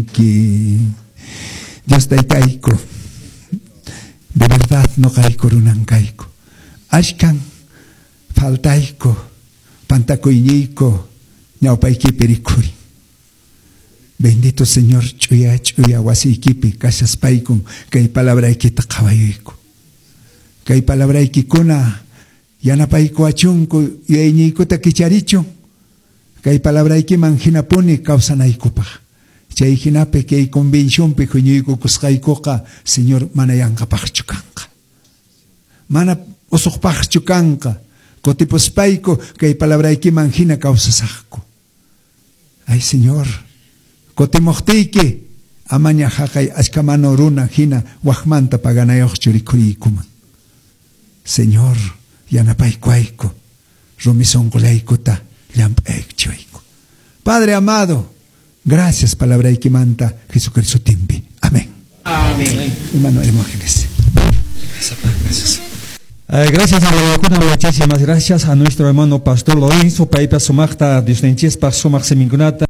Ki Dios taytayku, de verdad noqayku runan kayku. Ashkan faltayku, pantakuyñiyku, ñawpaykipi rikhurin. Bendito Señor, ch'uya ch'uya wasiykipi kashaspaykum kay palabraykita qhawayuyku. Kay palabraykikuna yanapaykuwachunku yuyayñiykuta kicharichun. Kay palabraykiman hinapuni kawsanaykupaq. Chay hinapi kay convencionpi huñuykukusqaykuqa, Señor, mana yanqapaqchu kanqa. Mana usuqpaqchu kanqa. Kutipuspayku kay palabraykiman hina kawsasaqku. Ay, Señor, kutimuqtiyki amaña haqay achka manu runa hina waqmanta paganayuqchu rikhuriykuman. Señor, yanapaykuwayku, rumi sunqullaykuta llamp'aykuchiwayku. Padre amado, gracias palabraykimanta Jesucristo timpi. Amén. Amén. Hermano Hermógenes. Gracias. Gracias a la muchísimas gracias a nuestro hermano pastor Lorenzo, paypa sumaqta Diosninchispaq sumaq siminkunata.